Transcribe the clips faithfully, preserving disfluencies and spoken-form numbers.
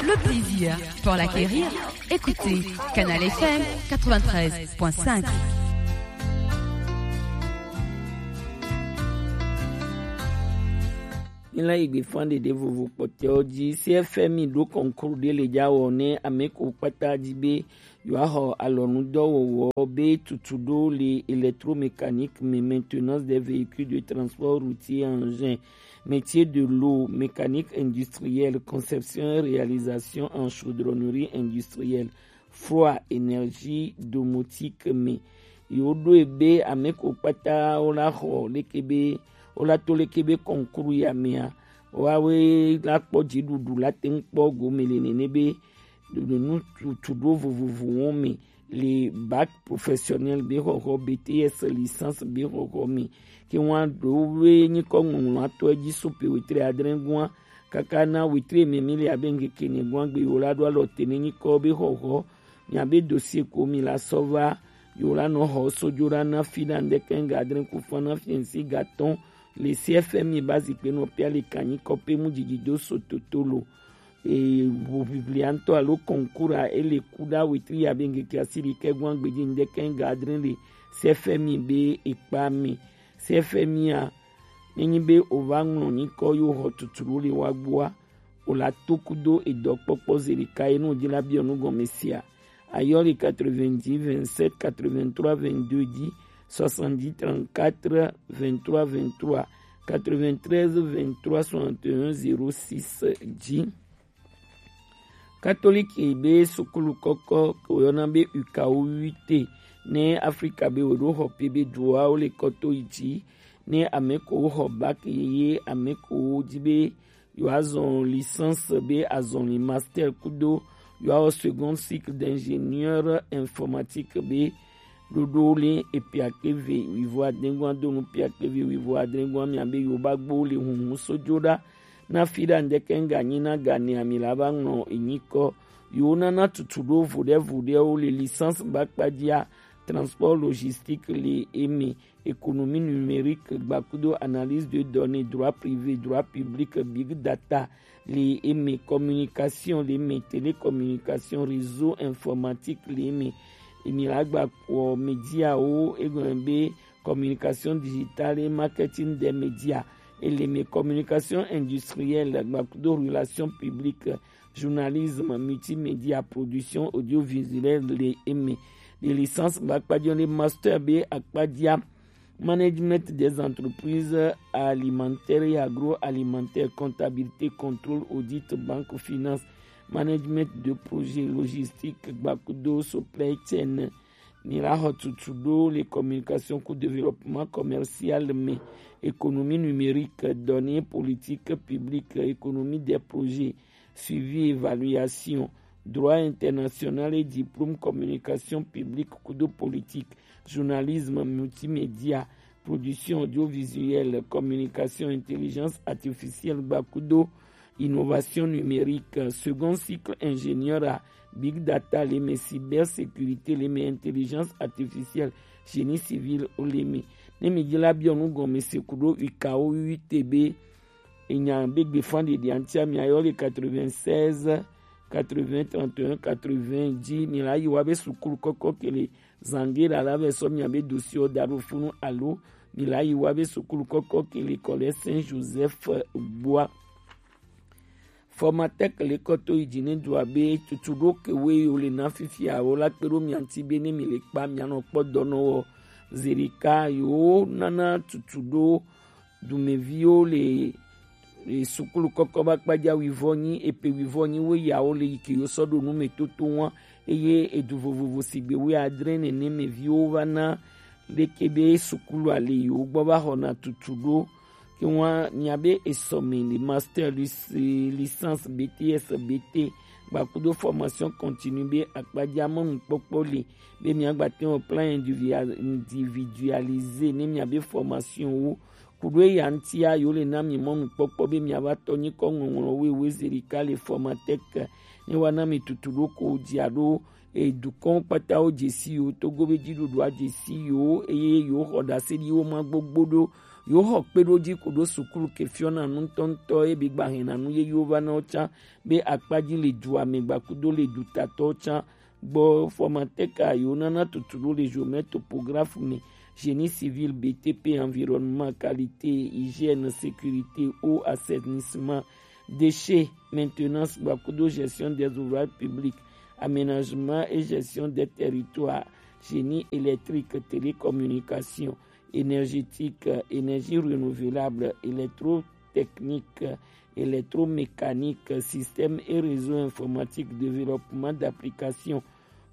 Le plaisir pour l'acquérir, écoutez Canal F M quatre-vingt-treize point cinq. Míla yi gbe fán ɖeɖe vovo kpɔtɛwo ji. C F M I ɖo kɔnkuru ɖe le ja wɔ ne ame ko kpata ji be yewoaxɔ alɔnudɔwɔwɔ be tutu ɖo le électromécanique me, maintenance des véhicules de transport routier, engin, métier de l'eau, mécanique industrielle, conception et réalisation en chaudronnerie industrielle, froid, énergie domotique me. Yewoɖoe be ame ko kpata wola xɔ leke be, wola to leke be kɔnkuru ya mea, woawoe la kpɔ dziɖuɖu la te ŋu kpɔ gome le nene be ɖoɖo nu tutu ɖo vovovowo me le bac professionnel be xɔxɔ, B T S, licence be xɔxɔ me. Ke ŋua ɖo be nyikɔ ŋɔŋlɔ atɔ edzi so pe wetri adre gua kaka na wetri me mi le abe ŋkeke ne gua gbe yewo la ɖo alɔ te ne nyikɔ be xɔxɔ, miabe dossier ko mi la sɔ va, yewo la nɔ xɔ sojo la na fi na ŋdeke ŋga adre ku fa na fiɛnsi gatɔn le C F M I ba zikpe nɔ pia le kanyi kɔpe mu dzidzi do so toto lo. E, ʋuʋiʋlia ŋutɔ alo kɔnkura ele ku ɖa wetri ya be ŋkeke asiri ke gua gbedzi ŋdeke ŋga adre le C F M I be ekpa me. C F M I a, nenyi be o va ŋlɔ nyikɔ yo xɔ tuturu le wa gbua, o la to kudo edɔkpɔkpɔ ze ɖeka ye no dzi la biɔ nu gɔme sia. Ayɔ le quatre-vingt-dix, vingt-sept, quatre-vingt-trois, vingt-deux dzi, soixante-dix, trente-quatre, vingt-trois, vingt-trois, quatre-vingt-treize, vingt-trois, soixante et un, zéro six dzi. Katoliki be sukulu kɔkɔ ke woyɔna be U K O huit ne Afrika be wo ɖo xɔ pe be duawo le kɔto yi dzi ne ame ko xɔ bac ye ame ko dzi be yewoazɔ licence be azɔli master kudo yewoawɔ second cycle d'ingénieur informatique be ɖoɖo le epiakpe ve wivo adengua do nu piakpe ve wivo adengua mia be yewo ba gbo le hunhun sojo ɖa na fi ɖa ŋdeke ŋga nyi na ga ne ami la ba ŋlɔ enyikɔ yewo nana tutu ɖo vo ɖe vo ɖewo le licence ba kpadzia transport logistique le eme, économie numérique, gbakudo analyse de données, droit privé, droit public, big data, le eme, communication, le eme, télécommunication, réseau informatique, le eme, emi la gba kpɔ média wo, egɔme be communication digitale et marketing des médias, et le eme, communication industrielle, gbakudo relation publique, journalisme, multimédia, production audiovisuelle, le eme, le licence ba kpadzia le master be akpadzia, management des entreprises alimentaires et agroalimentaires, comptabilité, contrôle, audit, banque, finance, management de projet, logistique, gbakudo supply chain. Ni la xɔ tutu ɖo le communication ku développement commercial me, économie numérique, données, politique publique, économie des projets, suivi, évaluation, droit international et diplôme communication publique kudo politique, journalisme, multimédia, production audiovisuelle, communication, intelligence artificielle, gbakudo innovation numérique, second cycle ingénieur à big data, le eme, cybersécurité, le eme, intelligence artificielle, génie civil, le eme. Ne mi dzi la biɔ nu gɔme se kudo U K O huit be enya be gbe fan ɖeɖi antia mi ayɔ le quatre-vingt-seize, quatre-vingts, trente et un, quatre-vingts dzi mi la yi wa be sukulu kɔkɔ ke le zange la la vɛ sɔ mia be dossier da ɖo funu alo mi la yi wa be sukulu kɔkɔ ke le kɔ le Saint Joseph gbua. Formatec le kɔto yi dzi ne dua be tutu ɖo ke we yo le na fifia wo la kpe ɖo mia ŋuti be ne mi le kpa mia nɔ kpɔ dɔnɔ wɔ zerika yo nana tutu ɖo dumeviwo le, le sukulu kɔkɔ ba kpadza wivɔ nyi epe wivɔ nyi wo yawo le yi ke yo sɔ ɖo nu me toto wa eye edu vovovo sigbe wo adre nene me viwo va na leke be sukulu ale yi wo gbɔ va xɔna tutu ɖo ke wa nya be esɔ me le master lis-, licence B T S B T gbakudo formation continue be akpadza mɔnukpɔkpɔ le be mia gba te wɔ plan individual-, individualisé ne mia be formation wo kuɖo eya ŋutia yewo le na mi mɔnukpɔkpɔ be miava tɔ nyikɔ ŋɔŋlɔ wewe zerika le Formatec ne wa na mi tutu ɖo ko dzia ɖo e dukɔn kpata wo dzesi yo Togo be dziɖuɖua dzesi yo eye yewo xɔ ɖase ɖi wo ma gbogbo ɖo Yewo xɔ kpeɖoji ku ɖo sukulu ke fiɔna nu ŋutɔŋutɔ ye bi gba hɛna nu yeyewo va na wo can be akpaji le dua me gba kudo le dutatɔwo can gbɔ. Formatec a yewo nana tutu ɖo le géomètre, topographe me, génie civil, B T P, environnement, qualité, hygiène, sécurité, eau, assainissement, déchets, maintenance gba kudo gestion des ouvrages publics, aménagement et gestion des territoires, génie électrique, télécommunication, énergétique, énergie renouvelable, électrotechnique, électromécanique, système et réseau informatique, développement d'applications,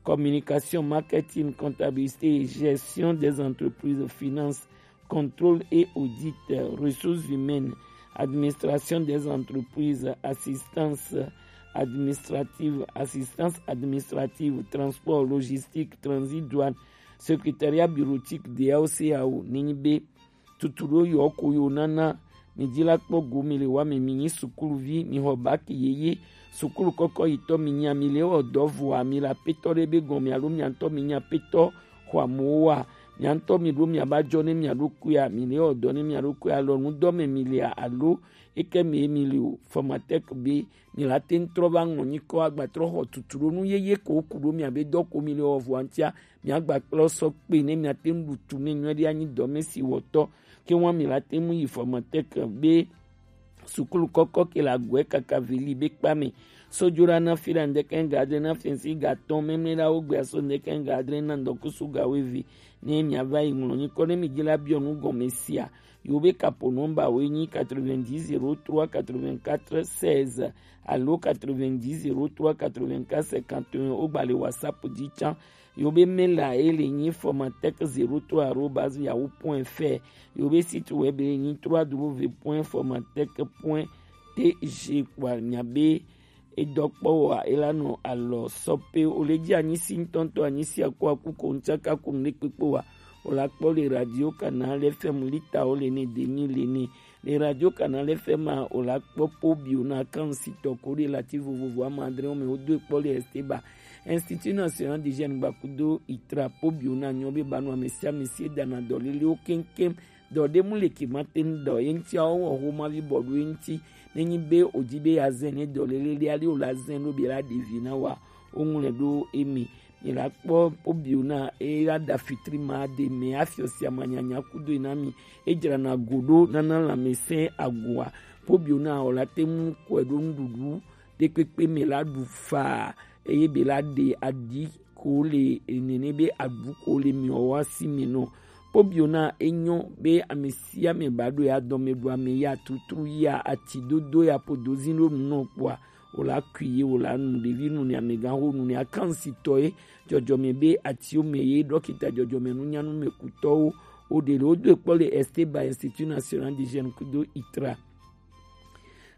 communication, marketing, comptabilité et gestion des entreprises, finance, contrôle et audit, ressources humaines, administration des entreprises, assistance administrative, assistance administrative, transport, logistique, transit, douane, secrétariat bureautique, D A O, C A O, nenyi be tutu ɖo yɔ ko yo nana. Mi ji la kpɔ go mi le wa mi, mi nyi sukuluvi, mi xɔ baki yeye, sukulu kɔkɔ yi tɔ mi nya, mi le wɔ dɔ vɔa, mi la petɔ ɖe be gɔn mi alo mi ŋutɔ mi nya petɔ xɔ amowo wa, mi ŋutɔ mi ɖo mi aba jɔ ne mi aɖo kuya, mi le wɔ dɔ ne mi aɖo kuya, alɔ nu dɔ me mi le alo eke mi ye mi le o. Formatec be mi la te ŋu trɔ va ŋlɔ nyikɔ agba trɔ xɔ tutu ɖo nu yeye ko ku ɖo mi abe dɔ ko mi le wɔ vɔa ŋutia, mi agba kplɔ sɔ kpe ne mi ate ŋu ɖu tu ne nyuie ɖe anyi dɔ me si wɔtɔ ke wa mi la te ŋu yi Formatec be sukulu kɔkɔ ke la gɔe kaka vili be kpa me. Sojo la na fi la ŋdeke ŋga adre na fɛnsi ga tɔn memle la wo gbe aso ŋdeke ŋga adre na ŋdɔkusu ga weve. Ne mi ava yi ŋlɔ nyikɔ ne mi ji la biɔ nu gɔme sia, yo be kapo nɔmba wo nyi quatre-vingt-dix zéro trois quatre-vingt-quatre seize alo quatre-vingt-dix zéro trois quatre-vingt-quatre cinquante et un. O gba le WhatsApp ji can. Yo be mail a e le nyi Formatec zéro trois arobase yahoo point F R. Yo be site web e nyi trois W point formatec point T G. Kpoa nya be edɔ kpɔ wa e la nɔ alɔ sɔ pe o le ji anyi si ŋutɔŋutɔ anyi si aku aku ko ŋtsaka ku ŋɖe kpekpe wa o la kpɔ le radio Canal F M lita o le ne demi le ne. Le radio Canal F M a o la kpɔ po bio na kan si tɔ ko de lati vovovo ama adre o me o do kpɔ le Esteba. Institut National des Jeunes gba kudo itra po bio na nyɔ be ba nu ame sia ame si e dana dɔ lele o keŋkeŋ. Dɔ de mu le ki ma te ŋu dɔ ye ŋuti a o wɔ ho ma vi bɔ do ye ŋuti. Ne nyi be o ji be ya zɛn ne dɔ lele le ali o la zɛn do be la ɖevi na wa o ŋlɛ do emi. Mi la kpɔ po bio na e la da fitri ma de me afiɔ sia ma nyanya kudo na mi. E dzra na go do nana lãmesẽ agoa. Po bio na o la te ŋu kɔe do nuɖuɖu ɖe kpekpe me la ɖu fa eye be la ɖe aɖi ko le nene be aɖu ko le miɔ wa si me nɔ. Po bio na e nyɔ be ame sia ame ba ɖo ya dɔme ɖu ame ya tutru ya ati dodo ya po dozi ɖo nu nɔ kpoa o la kui ye o la nu ɖevi nu ne amegã ho nu ne akan si tɔ ye dzɔdzɔme be atiwo me ye ɖɔkita dzɔdzɔme nunyanu me kutɔwo o ɖe le wo do kpɔ le Esteba Institut National des Jeunes kudo itra.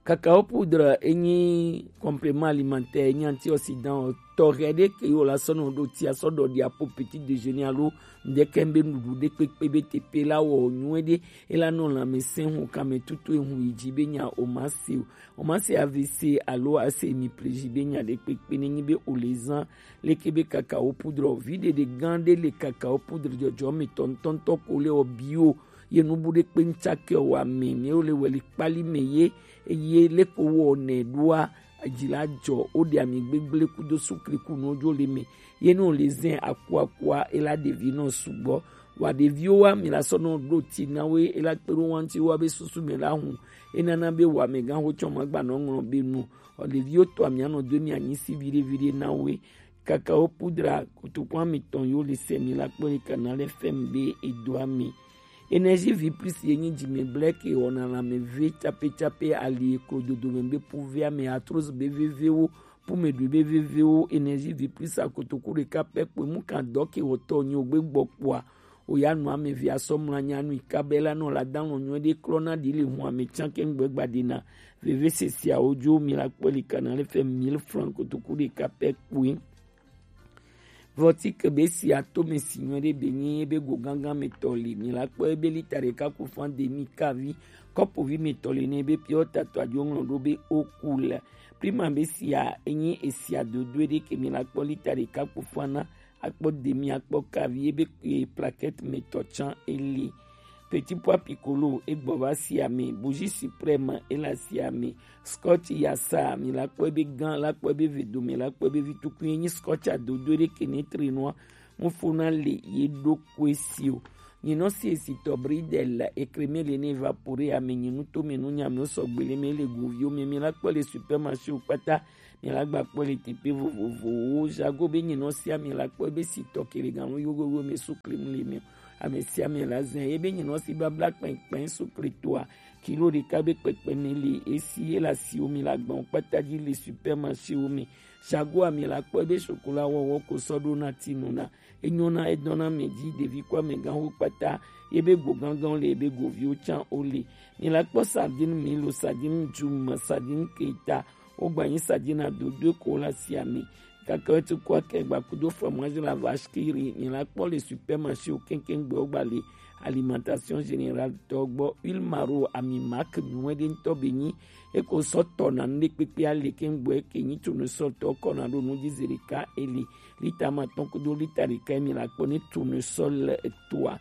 Cacao poudre enyi complément alimentaire, enyi antioxydant o tɔxɛ ɖe ke yo la sɔ nɔ ɖo tia sɔ ɖɔ ɖia po petit déjeuner alo ŋdeke be nuɖuɖu ɖe kpekpe be tepe la wɔ nyuie ɖe e la nɔ lãmesẽ ho kame tutu ehu yi dzi be nya o ma se o. O ma se A V C alo a se mi pleji be nya ɖe kpekpe ne nyi be o le zan leke be cacao poudre o vi ɖeɖe gã ɖe le cacao poudre dzɔdzɔ me tɔntɔntɔ ko le o bio ye nubu ɖe kpe ŋtsake o wa me me o le weli kpali me ye eye leko wɔ nɛ ɖoa dzi la dzɔ o ɖe ami gbegble kudo sukli ku no dzo le me ye no le zɛn akua akua e la ɖevi nɔ sugbɔ wa ɖeviwo wa mi la sɔ nɔ ɖo ti na wo e la kpe ɖo wa ŋuti wa be susu me la hu e nana be wa me gã ho tsɔ ma gba nɔ ŋlɔ be nu o ɖeviwo tɔ mi anɔ do mi anyi si viɖe viɖe na wo. Cacao poudre kotoku ametɔn yo le sɛ mi la kpɔ le Canal F M be edo ami. Énergie vie plus ye nyi dzime blɛ ke wɔna lãme ve tsape tsape ali eklo dodo me be puve ame arthrose be vevewo pume ɖui be vevewo. Énergie vie plus akotoku ɖeka pɛ kpoe mu kan dɔ ke wɔtɔ nyi o gbe gbɔ kpoa o ya nu ame ve asɔ mlɔ anyi anu yi ka be la nɔ la da lɔ nyuie ɖe klɔ na ɖi le hu ame tsan ke ŋgbe gba ɖi na veve sesiawo dzo mi la kpɔ li Canal F M mille francs kotoku ɖeka pɛ kpoe. Vɔtike be si ato me si nyuie ɖe be nyi ebe go gangan me tɔ li mi la kpɔ ebe lita ɖeka ku fan demi kavi kɔpo vi me tɔ li ne ebe piɔ tatɔ adzo ŋlɔ ɖo be o ku le prima be sia enyi esia dodo ɖe ke mi la kpɔ lita ɖeka ku fan na akpɔ demi akpɔ kavi ebe plaquette me tɔ tsan eli. Petit Pois Piccolo, egbɔ va si ame. Bougie Suprême, ele asi ame. Scotch Yasa, mi la kpɔ ebe gan, la kpɔ ebe vedo, mi la kpɔ ebe vitukui, enyi Scotch adodo ɖe ke ne tre nua. Mufuna le ye ɖo kue si o. Nyinɔ si esi tɔ bridel ekreme le ne evapore ame nyinu to me nu nyame sɔgbe le me le goviwo me, mi la kpɔ le supermarché o kpata, mi la gba kpɔ le teƒe vovovowo. Jago be nyinɔ sia mi la kpɔ ebe si tɔ ke le ganu yogogo me su krim le me. Ame sia ame la zɛ ebe nyinɔ si babla kpɛnkpɛn su kre toa. Kilo ɖeka be kpɛkpɛ ne le esi ye la si wo mi la gbɔn kpata dzi le supermarché wo me. Jago ami la kpɔ ebe chocolat wɔwɔ ko sɔ ɖo na ti nu na. Enyo na edɔn na mɛ dzi ɖevi kɔ amɛgãwo kpata, ye be go gãgãwo le, ye be goviwo tsã wo le. Mi la kpɔ sardine milo, sardine djum, sardine keta, wogba nyi sardine adodoe ko la si ami. Kaka wo tu kɔ akɛ gba kudo fromage la vache qui rit, mi la kpɔ le supermarché wo keŋkeŋ gbe wogba le alimentation générale tɔ gbɔ. Huile maro ami marque nyuie ɖe ŋutɔ be nyi, eko sɔ tɔ na nu ɖe kpekpe ale keŋ gbɔ eke nyi tournesol tɔ kɔ na ɖo nu dzi zi ɖeka eli. Lita ma tɔn kudo lita ɖeka mi la kpɔ ne tournesol toa.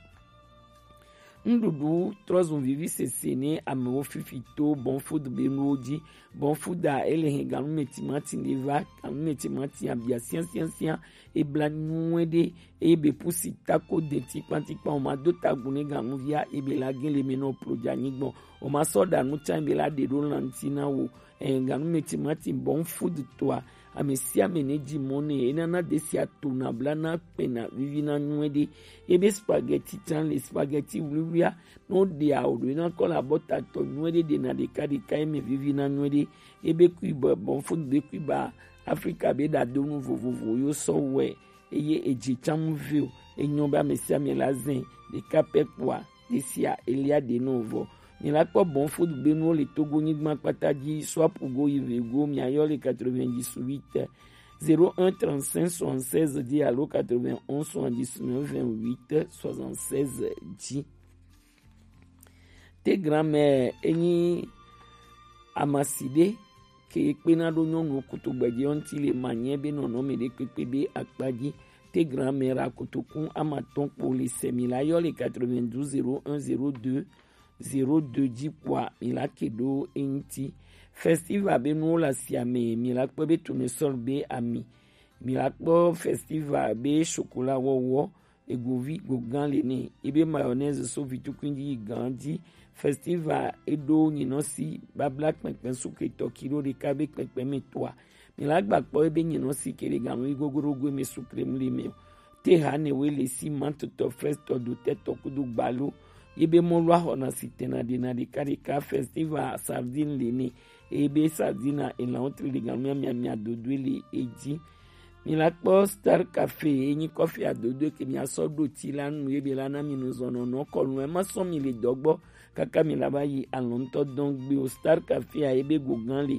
Nuɖuɖu trɔ zun vivi sese ne amewo fifi to Bon Food be nuwo dzi. Bon Food a ele hɛn ganu me timati ne va, ganu me timati abia sian sian sian, ebla nyuie ɖe, eye be pusi tako de tikpan tikpan, o ma do tagun ne ganuvia, ebe la gen le me no plo dza nyigbɔn, o ma sɔ ɖa nu tsã, ebe la ɖe ɖo lanti na wo. Ɛɛ, ganu me timati Bon Food toa, ame sia ame ne dzi mɔ ne, enana desia tona bla na kpena vivi na nyuie ɖe. Ebe spaghetti tsã le, spaghetti wluiwluia, no ɖe awo ɖo ena kɔ la bɔ tatɔ nyuie ɖe ɖe na ɖeka ɖeka eme vivi na nyuie ɖe. Ebe kui bɔ Bon Food be kui ba Afrika be ɖadonu vovovo yo sɔ wɛ, eye edzi tsam vio, enyo be ame sia ame la zɛ ɖeka pɛ kpoa ɖe sia elia ɖe nɔ vɔ. Mi la kpɔ Bon Food be nuwo le Togo nyigba kpata dzi, swapu go yi ve go, mi ayɔ le quatre-vingt-dix-huit, zéro un trente-cinq soixante-seize dzi alo quatre-vingt-onze soixante-dix-neuf vingt-huit soixante-seize dzi. Tegram enyi amasi ɖe ke kpena ɖo nyɔnuwo kutugbe dzi ŋuti le manyɛ be nɔnɔme ɖe kpekpe be akpa dzi. Tegram ra kotoku amatɔn kpo le sɛ mi la yɔ le quatre-vingt-douze zéro un zéro deux zéro deux dzi kpoa mi la ke ɖo eŋuti. Festival be nuwo le asia me, mi la kpɔ be tournesol be ami, mi la kpɔ festival be chocolat wɔwɔ, egovi go gã le nɛ, ebe mayonnaise so vitukui dzi yi gã dzi. Festival eɖo nyinɔ si babla kpɛnkpɛn suketɔ kilo ɖeka be kpɛnkpɛn me toa. Mi la gba kpɔ ebe nyinɔ si ke le ganu yi gogoɖogo me sukrem le me o. Te ha ne we le si mantotɔ, frɛstɔ, dotɛtɔ kudo gbalo. Ye be mɔlu axɔna si tena ɖena ɖeka ɖeka. Festival sardine le nɛ, eye be sardine elan wotri le ganu miamia miadodoe le edzi. Mi la kpɔ Star Cafe, enyi kɔfi adodoe ke mi asɔ ɖo ti la nu, ye be la na mi nu zɔnɔ nɔ kɔnu, ema sɔ mi le dɔgbɔ kaka mi la ba yi alɔntɔ dɔn gbe o. Star Cafe a ye be go gã le,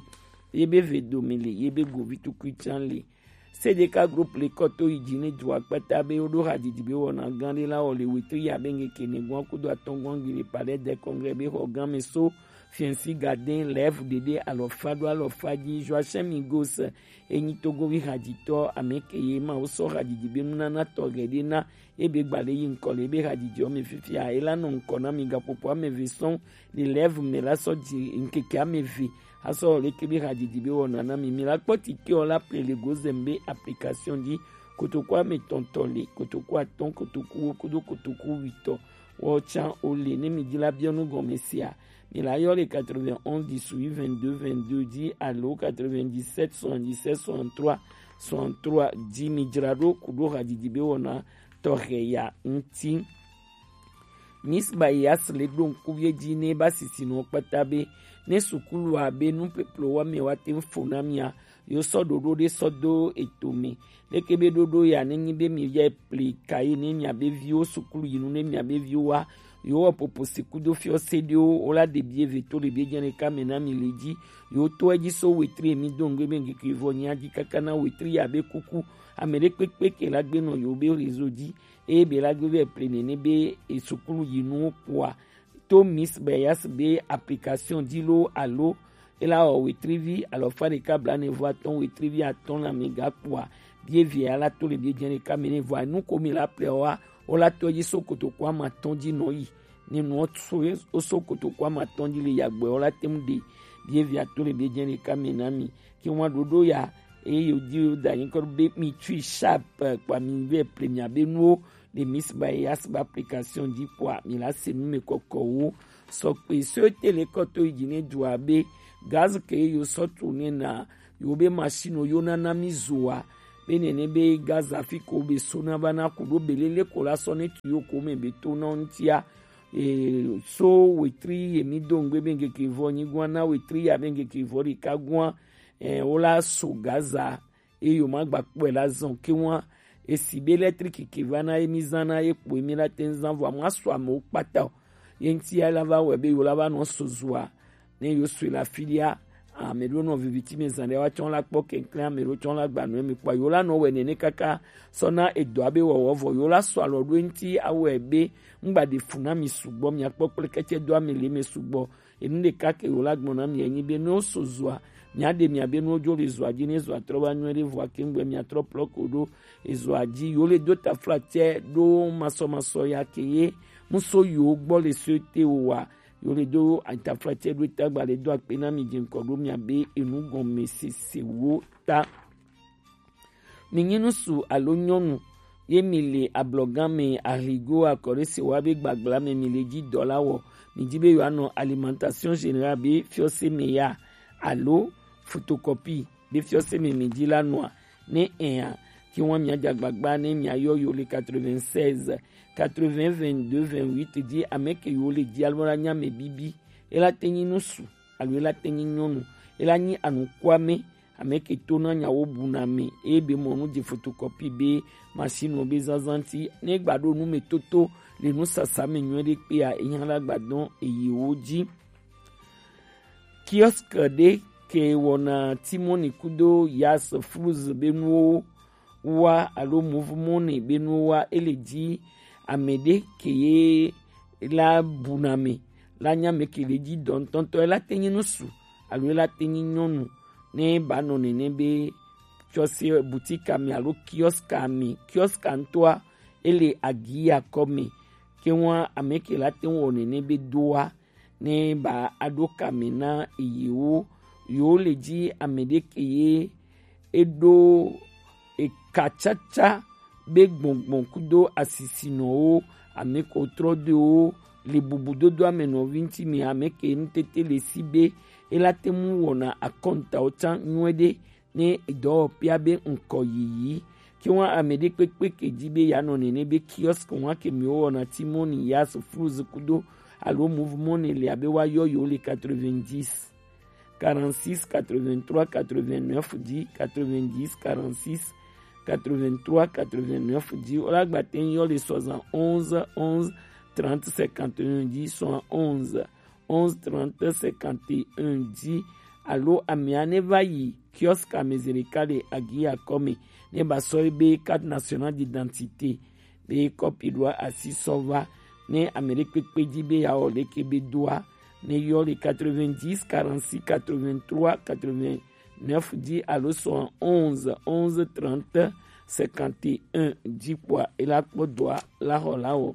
ye be ve do mi le, ye be go vitukui tsã le. Sedeka group le kɔ to yi dzi ne dua kpata be woɖo hadzidzi be wɔna gã ɖe la wɔ le wetri ya be ŋkeke ne gɔn kudo atɔn gɔn gbi le Palais des Congrès be xɔ gã me so Fiɛnsi Gadin lɛv ɖeɖe alɔfa ɖo alɔfa dzi. Joachim Migos enyi Togovi hadzitɔ, ame ke ye ma wo sɔ hadzidzi be nunana tɔxɛ ɖe na ebe gba le yi ŋkɔ le ebe hadzidzi ɔ me fifia. Ela nɔ ŋkɔ na mi gaƒoƒo ame eve sɔn le lɛv me la sɔ dzi ŋkeke ame eve asɔ leke be hadzidzi be wɔna na mi. Mi la kpɔ tike ɔ la ple le gozem be application dzi. Kotoku ame tɔntɔ le, kotoku atɔn, kotoku wo kudo kotoku witɔ wɔ tsã o le. Ne mi dzra biɔ nu gɔme sia, mi la yɔ le quatre-vingt-onze dix-huit vingt-deux vingt-deux dzi alo quatre-vingt-dix-sept soixante-dix-sept soixante-trois soixante-trois dzi. Mi dzra ɖo kudo hadzidzi be wɔna tɔxɛ ya ŋuti. Miss Bayas le ɖo ŋkuvie dzi ne ba sisi nɔ kpata be ne sukulu abe nu peplo wa mi wa te fo na mia, yo sɔ ɖoɖo ɖe sɔ do eto me. Leke be ɖoɖo ya ne nyi be mi ya pli kayi ne mia be viwo sukulu yi nu ne mia be viwo wa, yo wɔ popo si kudo fiɔ se ɖewo wo la ɖe bie ve to le bie dze ne ka me na mi le dzi. Yo to edzi so wetri mi do ŋgbe be ŋkeke vɔ nya dzi kaka na wetri ya be kuku. Ame ɖe kpekpe ke la gbe nɔ yo be réseau dzi. Eye be la gbe vɛ ple nene be esukulu yi nuwo kpoa, to Miss Bayas be application dzi lo alo ela wɔ wetrivi alɔfa ɖeka blaene vɔ atɔn wetrivi atɔn la me ga kpoa, bie via la to le bie dze ɖeka me ne vɔ enu ko mi la ple wa, wo la to dzi so kotoku ama atɔn dzi nɔ yi. Ne nuwo so ye, wo so kotoko amatɔn ji le yagbɛ wo la te ŋu ɖe bie via to le bie jɛ ɖeka mɛ na mi. Ke ŋua ɖoɖo ya, eye yo di yo da nyikɔ be mi tui sharp kpa mi vɛ ple mi abe nuwo le Miss Bayas ba application ji kpɔa mi la se nu me kɔkɔ wo. Sɔkpe so te le kɔto yi ji ne dua be gaz ke yo sɔ tu ne na yo be machine yo na na mi zoa be nene be Gaza fi ko be so na va na ku ɖo be lele ko la sɔ ne tu yo ko me be to na ŋutia. E, so wetri ye mi do ŋgbe be ŋkeke vɔ nyigua na wetri ya be ŋkeke vɔ ɖeka gua. E, wo la so Gaza e yo ma gba kpɔe la zɔn ke wa. Esi be électrique ke va na ye mi zan na ye kpo ye mi la te ŋu zan vɔ amu aso amewo kpata o. Ye ŋutia la va wɛ be yo la va nɔ so zoa ne yo sue le afi ɖia. Ame ɖewo nɔ viviti me zan ɖe wa tsɔ la kpɔ kɛnklɛn, ame ɖewo tsɔ la gba nu emi kpɔ yo la nɔ wɛ nene kaka sɔ na edɔa be wɔwɔ vɔ yo la sɔ alɔ ɖo eŋuti awɛ be ŋgba ɖe fu na mi sugbɔ, mi akpɔ kple kɛtsɛ do ame le me sugbɔ. Enu ɖeka ke yo la gbɔ na mi enyi be ne wo so zoa, mi aɖe mi abe ne wo dzo le zoa dzi ne zoa trɔ va nyuie ɖe vɔa ke ŋgbe mi atrɔ plɔ ko ɖo ezoa dzi yo le do taflatse ɖo masɔmasɔ ya ke ye muso yo gbɔ le so te wo wa. Yo le do taflatse ɖo eta gba le do akpe na mi dze ŋkɔ ɖo mi abe enu gɔme sese wo ta. Mi nyi nusu alo nyɔnu ye mi le ablɔgan me, ahligo akɔɖe se wa be gbagbla me mi le ji dɔ la wɔ, mi ji be yo anɔ alimentation générale be fiɔse me ya alo photocopie be fiɔse me mi ji la nɔa? Ne ɛa, ki wan mi aja gbagba ne mi ayɔ yo le quatre-vingt-seize quatre-vingts vingt-deux vingt-huit ji ame ke yo le ji alo la nya me bibi. E la te nyi nusu alo e la te nyi nyɔnu, e la nyi anukwame, ame ke to na nyawo bu na me e be mɔ nu je photocopie be machine be zazan ti ne gba ɖo nu me toto le nusasa me nyuie ɖe kpea e nya la gba dɔn eye wo ji. Kiosque ɖe ke wɔna Timoni kudo Yas Flus be nuwo wa alo Mouvement be nuwo wa, ele ji ame ɖe ke ye la bu na me la nya me ke le ji dɔ ŋutɔŋutɔ, ela te nyi nusu alo ela te nyi nyɔnu ne ba nɔ nene be tsɔse boutique me alo kiosque me, kiosque ŋutɔa ele agiya kɔ me. Ke ŋua ame ke la te ŋu wɔ nene be doa ne ba aɖo kame na yewo. Yewo le dzi ame ɖe ke ye eɖo ekatsatsa be gbɔngbɔn kudo asisinɔwo, ame ko trɔ doewo le bubudodoa me nɔvi ŋuti me, ame ke nutete le si be ela te ŋu wɔna akɔntawo tsã nyuie ɖe ne dɔwɔƒea be ŋkɔ yiyi. Ke ŋua ame ɖe kpekpe ke dzi be yeanɔ nene be kiosque ŋua ke mi wowɔna Timoni, Yas, Fluz kudo alo Mouvement ne le abe woayɔ yewo le quatre-vingt-dix, quarante-six, quatre-vingt-trois, quatre-vingt-neuf dzi, quatre-vingt-dix, quarante-six, quatre-vingt-trois, quatre-vingt-neuf dzi. Wola gba te ŋu yɔ le soixante-onze, onze, trente, cinquante et un dzi, soixante-onze, onze, trente, cinquante et un dzi, alo amea ne va yi kiosque me zi ɖeka le agiya kɔ me ne ba sɔ ebe carte nationale d'identité be kɔpi ɖoa asi sɔ va. Ne ame ɖe kpekpe dzi be yeawɔ leke be doa, ne yɔ le quatre-vingt-dix, quarante-six, quatre-vingt-trois, quatre-vingt-neuf dzi alo soixante-onze, onze, trente, cinquante et un dzi kpɔa, ela kpɔ dɔa la xɔ la wɔ.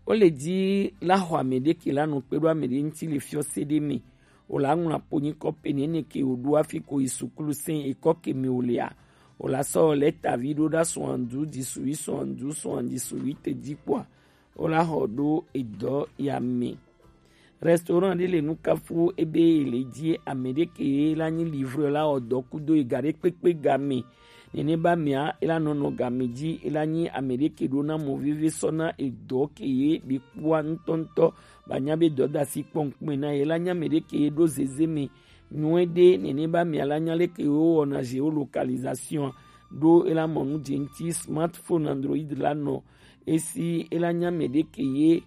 Wole dzi la xɔ ame ɖe ke la nɔ kpe ɖo ame ɖe ŋuti le fiɔse ɖe me. Wòla ŋlɔ po nyikɔ pe nene ke wòɖo hafi ko yi suklu sɛn ekɔ ke me wòlea. Wòla sɔ lɛtavi ɖo ɖa soixante-douze dix-huit, soixante-douze soixante-dix-huit dzi kpɔa, wola xɔ ɖo edɔ ya me. Restaurant ɖe le nukafu ebe le dzi ame ɖe ke la nyi livreur la wɔ dɔ kudo ega ɖe kpekpe ga me. Nene ba mea, ela nɔnɔ game dzi, ela nyi ame ɖe ke ɖo na mɔ veve sɔ na edɔ ke ye be kpɔa ŋutɔŋutɔ, ba nya be dɔdasi kpɔ ŋkume na ye, ela nyi ame ɖe ke ye ɖo zeze me nyuie ɖe. Nene ba mea, la nya leke ye wowɔna géolocalisation ɖo, ela mɔ nu dze ŋuti smartphone Android la nɔ esi, ela nyi ame ɖe ke ye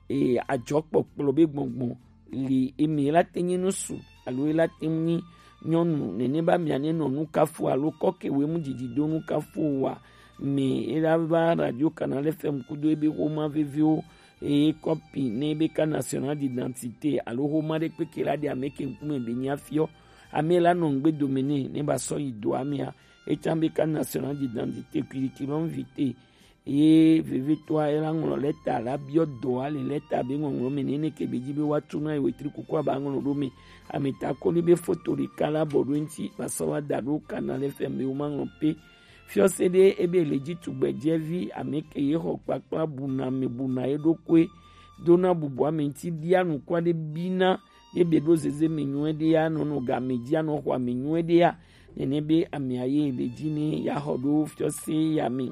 e, adzɔkpɔkplɔ be gbɔngbɔn li emi la te nyi nusu alo la te nyi nyɔnu nene ba mia ne nɔ nukafu alo kɔke we mu didi do nukafu wa me ela va radio canal F M kudo ebe xoma veviwo eye kɔpi ne ebe carte nationale d'identité alo xoma ɖe kpeke la ɖe ame ke ŋkume be nya fiɔ ame la nɔ ŋgbe dome ne ne ba sɔ yi do amea etsã be carte nationale d'identité, curriculum vitae Ye vevetɔa ela ŋlɔ lɛta la biɔ dɔ ale lɛta be ŋɔŋlɔ me nene ke be ji be wa tu na ye wetri kuku aba ŋlɔ ɖo me. Ameta koni be foto ɖeka la bɔ ɖo ŋti ba sɔ wa da ɖo Canal F M be wo ma ŋlɔ pe. Fiɔse ɖe ebe le ji tugbɛjɛvi ame ke ye xɔ kpakpla buna me buna ye ɖokui dona bubu ame ŋti bia nukua ɖe bina ye be ɖo zeze me nyuie ɖe ya nɔ nɔ game ji anɔ xɔ ame nyuie ɖe ya. Nene be amea ye le ji ne ya xɔ ɖo fiɔse ya me.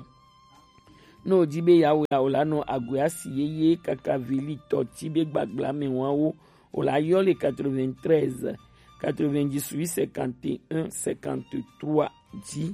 Ne wòdi be yeawɔe la, wòlanɔ agoe asi yeye kaka velitɔ ti be gbagblame wɔawo. Wòlayɔ le quatre-vingt-treize, quatre-vingt-dix-huit, cinquante et un, cinquante-trois dzi.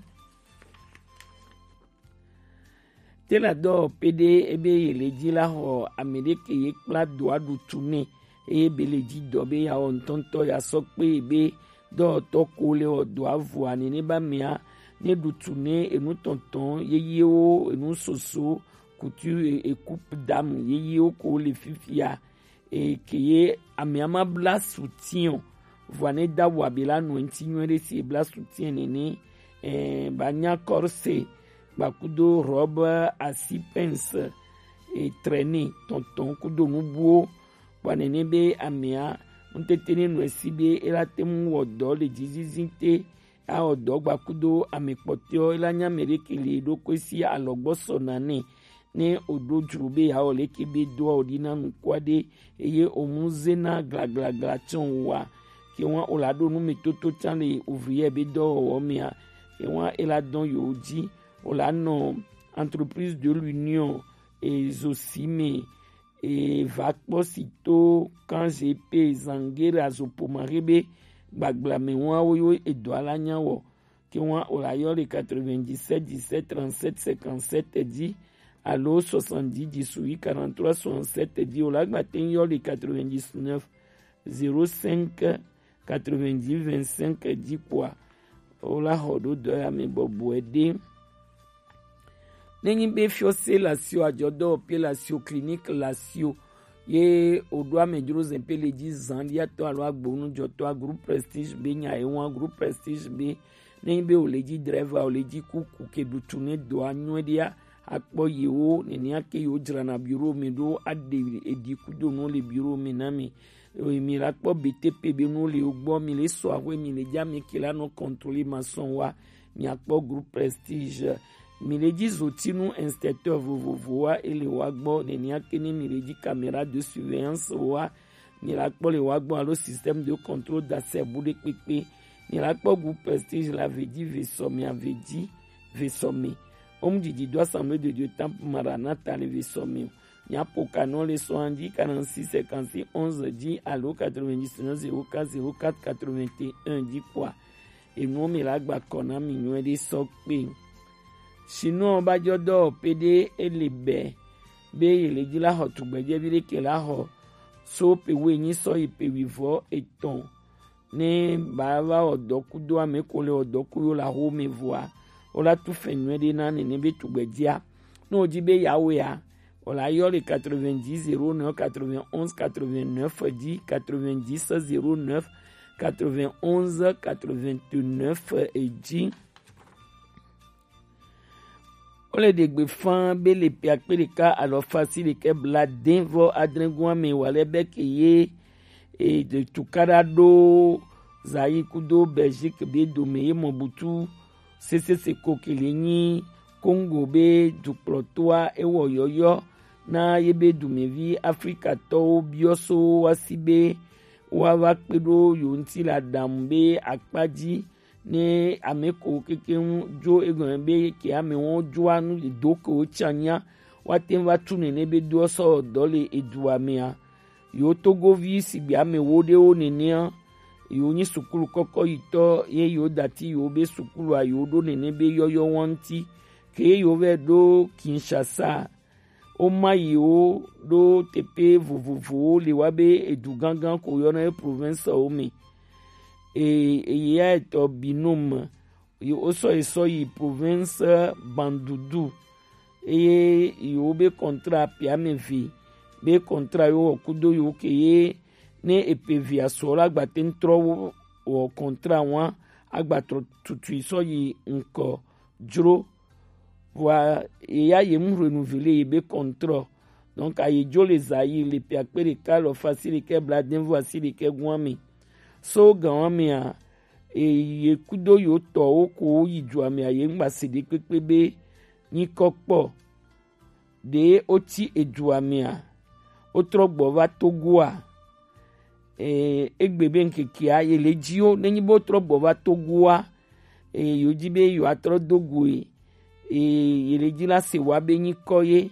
Te la dɔ pe ɖe ebe ye le dzi la xɔ ame ɖe ke ye kpla doa ɖu tu nɛ eye be le dzi dɔ be yeawɔ ŋutɔŋutɔ ya sɔ kpe be dɔwɔtɔ ko le wɔ dɔa vɔa nene ba mea ne ɖutu ne enu tɔntɔn yeyewo enu soso kutu eku dam yeyewo ko le fifia eke ye amea ma bla soutien o vɔa ne da wa be la nɔ ŋti nyuie ɖe si ebla soutien nene eh, ba nya corse gbakudo robe asi pince etrene tɔntɔn kudo nubuwo kpɔ nene be amea ŋutete ne nɔ esi be ela te ŋu wɔ dɔ le dzizizi te awɔ dɔ gbakudo ame kpɔtɔewo ela nya ame ɖeke le ɖokui si alɔgbɔ sɔ nane ne oɖo dzro be yeawɔ leke be doa oɖi na nukua ɖe eye omu zena glaglagla tsɔ wa ke wa ola ɖo nu me toto tsã le ouvrier be dɔwɔwɔ mea ke wa ela dɔn yewo dzi ola nɔ entreprise de l'union ezo si me eva kpɔ si to kan G P zangere azopomare be gbagblame wɔn awo yo edɔ ala nya wɔ ke wɔn o la yɔ le quatre-vingt-dix-sept dix-sept trente-sept cinquante-sept dzi alo soixante-dix dix-huit quarante-trois soixante-sept dzi o la gba te yɔ le quatre-vingt-dix-neuf zéro cinq quatre-vingt-dix vingt-cinq dzi kpɔa o la xɔ ɖo dɔyame bɔbɔe ɖe. Nenyi be fiɔse lasio adzɔdɔwɔƒe lasio clinique lasio ye woɖo amedzro zɛƒe le dzi zã ɖiatɔ alo agbonujɔtɔa groupe prestige be nya ye ŋua groupe prestige be nenyi be wòle dzi dreva wòle dzi kuku ke ɖutu ne dɔa nyuie ɖia akpɔ yewo nenea ke yewo dzrana bureau me ɖo aɖe eɖi kudo nuwo le bureau me na mi. Mi la kpɔ B T P be nuwo le wo gbɔ mi le sɔ axwe mi le dzi ame ke la nɔ contrôler maçon wa miakpɔ groupe prestige mi le dzi zotinu inspecteur vovovowoa ele wa gbɔ nenea ke ne mi le dzi caméra de surveillance wa mi la kpɔ le wa gbɔ alo système de contrôle d'accès bu ɖe kpekpe mi la kpɔ groupe prestige la vedzi vesɔmi avedzi vesɔmi omu didi do assemblée de Dieu temple maranatha le vesɔmi o miaƒo ka nɔ le sɔa dzi quarante-six cinquante-six onze dzi alo quatre-vingt-dix-neuf zéro quatre zéro quatre quatre-vingt-un dzi kpɔa enuwo mi la gba kɔ na mi nyuie ɖe sɔ kpe. Sinɔ ba dzɔ dɔwɔƒe ɖe ele bɛ be yele dzi la xɔ tugbedzevi ɖe ke la xɔ so pe wo enyi sɔ yi pe wivɔ etɔn ne ba va wɔ dɔ kudo ame ko le wɔ dɔ ku yo la xo me vɔa wo la tu fɛ nyuie ɖe na nene be tugbedzea ne wòdi be yeawɔea wòla yɔ le quatre-vingt-dix zéro neuf quatre-vingt-onze quatre-vingt-neuf dzi quatre-vingt-dix zéro neuf quatre-vingt-onze quatre-vingt-neuf dzi. Wole ɖe gbe faa be le ƒe akpe ɖeka alafa asiɖekɛ blaade vɔ adre goa me wòale be ke ye e, tukaɖa ɖo Zaire kudo Belgique be dome ye mɔ butu sesese ko ke le nyi Congo be dukplɔtoa ewɔ yɔyɔ na ye be dumevi Afrikatɔwo biɔ so woasi be woava kpe ɖo yewo ŋuti le aɖaŋu be akpa dzi ne ame ko kekeŋ dzo egɔme be ke amewo dzoa nu do ke wotsã nya woate ŋu va tu nene be doɔ sɔ dɔ le edua mea. Yewo togovi sigbe ame wo ɖewo nenea, yewo nyi sukulu kɔkɔ yitɔ ye yewo dati yewo be sukulua yewo ɖo nene be yɔyɔ wa ŋuti. Ke ye yewo vɛ ɖo Kinshasa, woma yewo ɖo teƒe vovovowo le wa be edu gãgã ko yɔna ye provincewo me. E, eya etɔ Binome, yi wosɔ yi sɔ yi province Bandundu eye yewo be contrat ƒe ame eve be contrat yewo wɔ kudo yewo ke ye ne eƒe evea sɔ la agba te ŋu trɔ wɔ contrat wa agba trɔ tutui sɔ yi ŋkɔ dzro Vɔa, ye ya ye mu hwenu vi le ye be contrôle. Donc, aye jo le Zaïre le pi akpe ɖeka alafa asiɖekɛ blaadɛnvu asiɖekɛ gɔn ame. So gan ame a, e, ye kudo yo tɔwo ko yi dua me a, ye ŋgba se ɖe kpekpe be nyikɔ kpɔ. Ɖe wo ti edua me a, wo trɔ gbɔ va Togo a? E, egbe be ŋkeke a ye le ji wo, ne nyi be wo trɔ gbɔ va Togo a, e, yo ji be yo atrɔ do go e, e, ye le ji la se wa be nyikɔ ye,